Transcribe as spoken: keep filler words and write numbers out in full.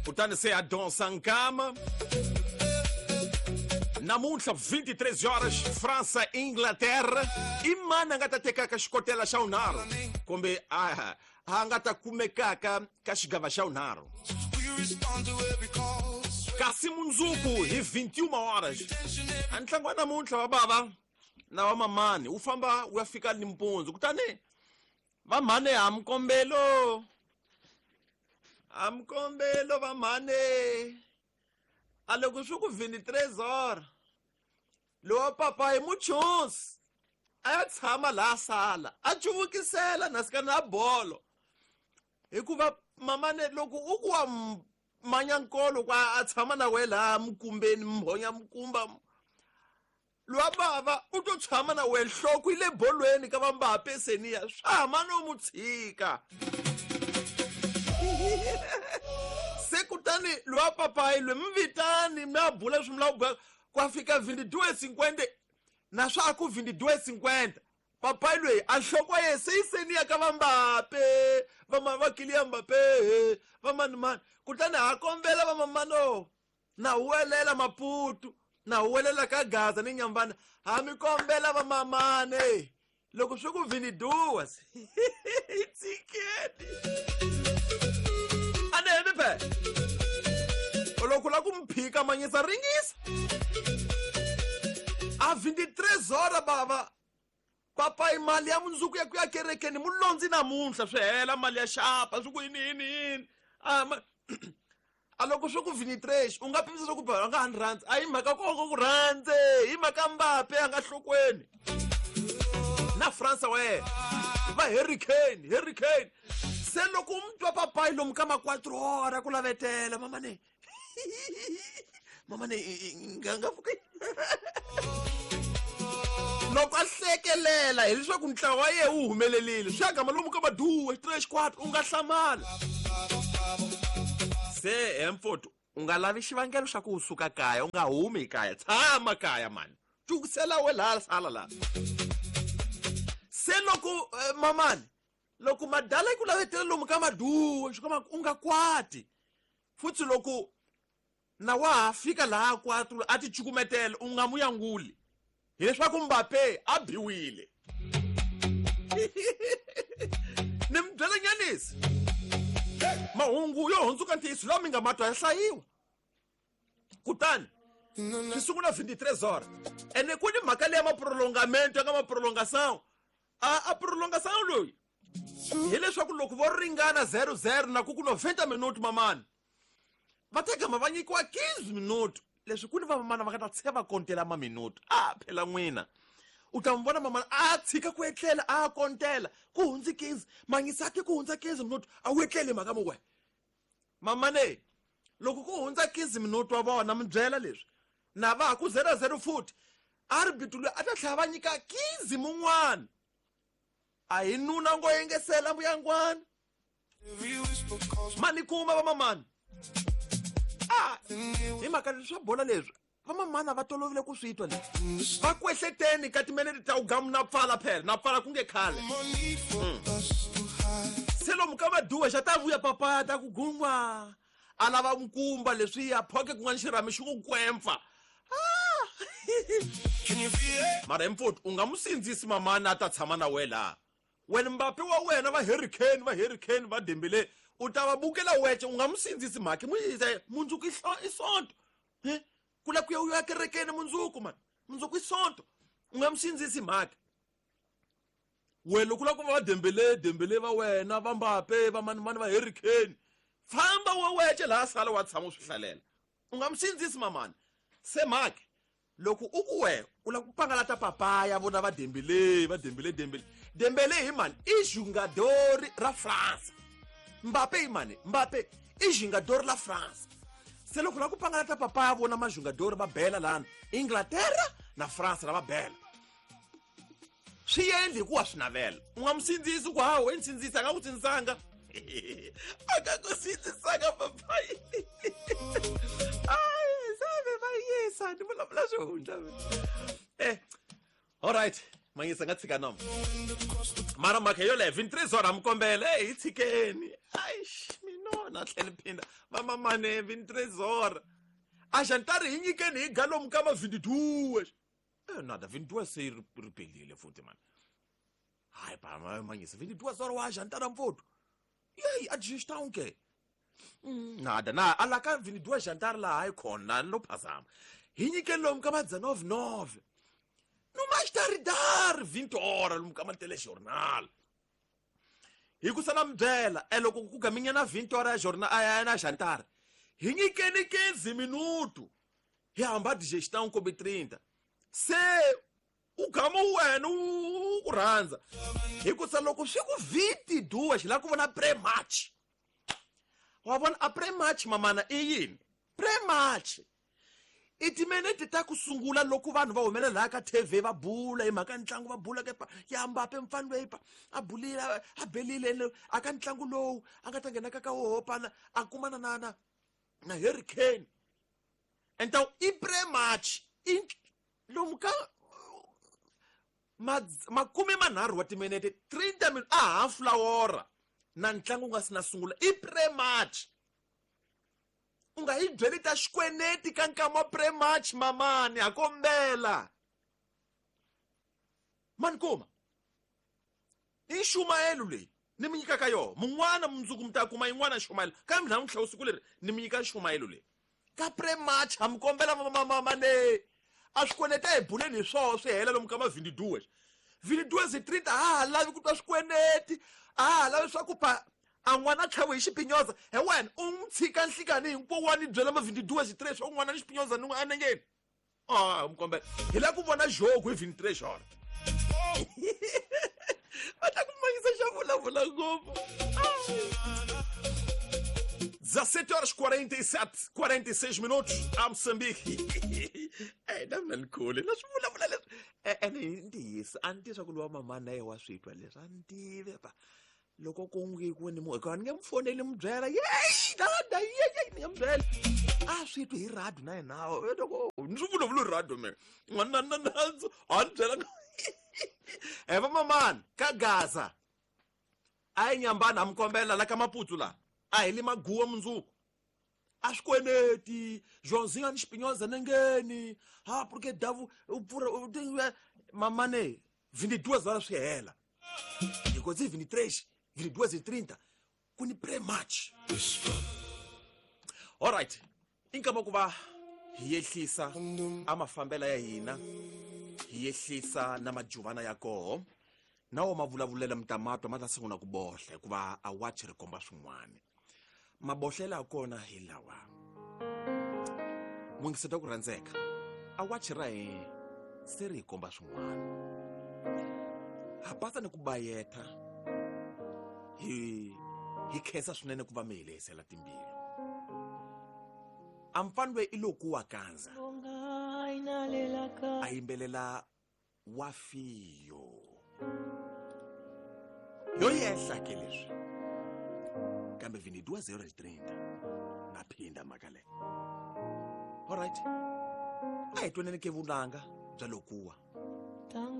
Kutani se a dança nkama. Namuntlha vinte e três horas, França, Inglaterra. I mani a nga ta tekaka xikotela xa vunharhu kumbe a a nga ta kumekaka ka xigava xa vunharhu. Kasi mundzuku hi vinte e uma horas. A ntlangu wa namuntlha wa bava na wa mamani wu famba wu ya fika nimpundzu. Kutani va mhane ha mkombelo. Ha mkombelo va mhane. A loko swi ku vinte e três horas. Lowa papa hi muchonsi a ya tshama laha sala a cuvukisela na sika na bolo. Hikuva mamane loko u ku wa manya nkolo kwa a tshama na wena laha mukumbeni mhonya mukumba. Lowa bava u to tshama na wena nhloko yi le bolweni ka va Mbappe seniya swa hama no mu tshika. Se kutani lowa papayi loyi mi vitani mi ya bula leswi mi lava ku bula kwa fika vinte e duas cinquenta na swa ku vinte e duas cinquenta. Papayi loyi a nhloko ya yena se yi seniya ka va Mbappe, va ma va Kylian Mbappe, va mani mani. Kutani ha kombela va mamano na huwelela Maputo, na huwelela ka Gaza ni Nyambana, ha mi kombela va mamane loko swi ku vinte e duas hi tshikeni. A ni hembi phela. Loko la ku mi phika manyisa ringisa. A vinte e três horas bava papayi mali ya mundzuku ya ku ya kerekeni mulondzi namuntlha swi hela mali ya xapa swi ku yini yini yini. A ma a loko swi ku vinte e três u nga pimisa swa ku a nga ha ni rhandzi. A hi mhaka koko ku rhandze, hi mhaka Mbappe a nga nhlokweni. Na Fransa wa yena va Harry Kane, Harry Kane. Se loko u mi twa papayi lomu ka ma quatro horas ku lavetela mamane. Mamane nga nga pfuki. Loko a hlekelela hileswaku ntlawa wa yena wu humelerile swi ya gama lomu ka ma duas, três, quatro u nga hlamala. Se Hemford u nga lavi xivangelo xa ku u suka kaya, u nga humi kaya, tshama kaya mani. Cukisela we laha sala laha. Se loko eh, mamani loko madala ku lavetela lomu ka maduwa swi kama u nga kwati. Futhi loko na wa ha fika laha kwatu a ti cukumetela u nga mu yanguli. Hileswaku Mbappe a biwile. Ni mi byela nyanisi. Mahungu yo hundzuka ntiyiso lawa mi nga matwa ya hlayiwa. Kutani swi sungula vinte e três horas. Ene ku ni mhaka leya maprolongamento ya nga maprolongação. A a prolongação loyi hileswaku loko vo ringana zero zero na ku ku noventa minuto mamani va ta gama va nyikiwa quinze minuto. Leswi ku ni vamamana va nga ta tshika va kontela maminuto. A phela n'wina u ta n'wi vona mamana a tshika ku etlela a kontela ku hundzi quinze manyisati ku hundza quinze minuto a wu etleli mhaka mu we. Mamane loko ku hundza quinze minuto wa vona mi byela leswi na va ha ku zero zero futhi arbitro loyi a ta tlhela va nyika quinze mun'wana. A hi nuna ngo yengesela mbuyangwana. Mani kuma va mamani. Ah, hi mhaka leswi swa bola leswi vamamana va tolovile ku swi twa leswi. Va kwehleteni ka timinete ta ugamu na pfala phela, na pfala ku nge khale. Mm. Se lomu ka maduwa xa ta vuya papaya ta ku gungwa. A lava nkumba leswiya phoke kun'wana xirhami xi ku kwempfa. Ah! Mara Hemford u nga mu sindzisi mamana a ta tshama na wena laha. Wena Mbappe wa wena va Harry Kane, va Harry Kane va Dembele u ta va bukela wece u nga mu sindzisi mhaka mu yisa mundzuku i sonto. He? Ku la ku ya u ya kerekeni mundzuku man. Mundzuku i sonto. U nga mu sindzisi mhaka. Wena loko u lava ku va Dembele, Dembele va wena, va Mbappe, va mani mani va Harry Kane. Famba wa wece laha sala wa tshama u swi hlalela. U nga mu sindzisi mamani. Se mhaka loko u ku we u lava ku pangalata papaya vona va Dembele, va Dembele, Dembele. Dembele hi mani i jogador ra France. Mbappe hi mani? Mbappe i jogador la France. Se loko la ku pangalata papaya vona majogador va bela lana Inglaterra na France la va bela. Swi endli hikuva swi navela. U nga mu sindzisi ku hawu i sindzisa a nga ku sindzisanga. A nga ku sindzisanga papayi. Ai, sabe va yisa ni vulavula swihundla. Eh, all right. Manyisa nga tshika nomo. Mara mhaka yoleyo vinte e três horas mi kombela, hey, hi tshikeni. Ai, minona. Na tlhela phinda vamamane vinte e três horas a jantar hi nyikeni hi galomu ka ma vinte e duas. Eh, nada, vinte e duas se ripelile futhi mani. Hayi ba manyisa vinte e duas horas wa jantar mfowethu. Yeyi, a digestão ke. Nada na ala ka vinte e duas jantar la hayi khona lo phazama. Hi nyikeni lomu ka ma dezenove nove. No mais tardar vinte horas lomu ka ma telejornal. Hi ku sala mi byela e loko ku gaminya na vinte horas ya jornal ya na jantar. Hi nyikeni quinze minuto. Hi hamba digestão kombe trinta. Se u gama wena u ku rhandza. Hi ku sa loko swi ku vinte e duas la ku vona pre-match. Wa vona a pre-match mamana i yini? Pre-match. I timinete ta ku sungula loko vanhu va humelela laha ka T V va bula hi mhaka ntlangu, va bula kepa ya Mbappe mfana loyi pa a bulile a belile a ka ntlangu lowu a nga ta nghena ka ka woho pana a kumana na na na Harry Kane. Então i pre-match i lomu ka makume manharhu wa timinete, trinta minutes, a half la hora na ntlangu wu nga si na sungula i pre-match. U nga hi byeli ta xikweneti ka nkama wa pre-match mamani, ha kombela mani kuma i nxumayelo leyi ni mi nyikaka yona mun'wana mundzuku mi ta kuma yin'wana nxumayelo kambe namuntlha siku leri ni mi nyika nxumayelo leyi ka pre-match. Ha mi kombela mamane a swikweleti a hi buleni hi swoho swi hela lomu ka ma vinte e duas vinte e duas hi trinta. A ha lavi ku twa swikweleti, a ha lavi swa ku pa a n'wana tlhawe hi xipinyoza. He wena u n'wi tshika nhlikani hinkwawo wa ni byela ma vinte e duas hi tres swa n'wana ni xipinyoza ni n'wi anengeni. A mi kombela hi lava ku vona jogo hi vinte e três hora. Va ta ku mangisa xa vulavula ngopfu. dezassete horas quarenta e sete, quarenta e seis minutos a Moçambique. Eh, na mina ni khule na swi vulavula leswi. Ene hi ntiyiso a ni tivi swa ku lowa mama na ye wa swi twa leswi, a ni tivi pa loko ku ngi ku ni mu hikuva ni nge mu foneli mu byela yeyi dada yeyi ni nge mu byela a swi twi hi radio na yena loko ni swi vulavula hi radio me n'wana na nandzu a ni byela he va mamani ka Gaza a yi nyambana. Ha mi kombela la ka Maputsu la a hi le maguwa mundzuku a swikweleti Joãozinho a ni xipinyoza nengeni ha porque davu u pfura mamane vinte e duas horas swi hela hikuva i vinte e três, vinte e duas e trinta ku ni pre-match. Alright, i nkama ku va hi yehlisa a mafambela ya hina, hi yehlisa na majuvana ya koho na wo ma vulavulela mutamato ma ta sungula ku bohla hikuva a wachi ri komba swin'wana. Mabohlela ya kona hi lawa mungiseta ku rhandzeka a wachi ra hina se ri hi komba swin'wana. Ha pasa ni ku bayetha hi hi khensa swinene ku va mi hi lehisela timbilu. A mfana loyi i loku wa kandza a yimbelela wa fiyo yo yehla ke leswi kambe vinte e duas horas trinta na phinda mhaka leyi. Alright, a hi twaneni ke vunanga bya lokuwa.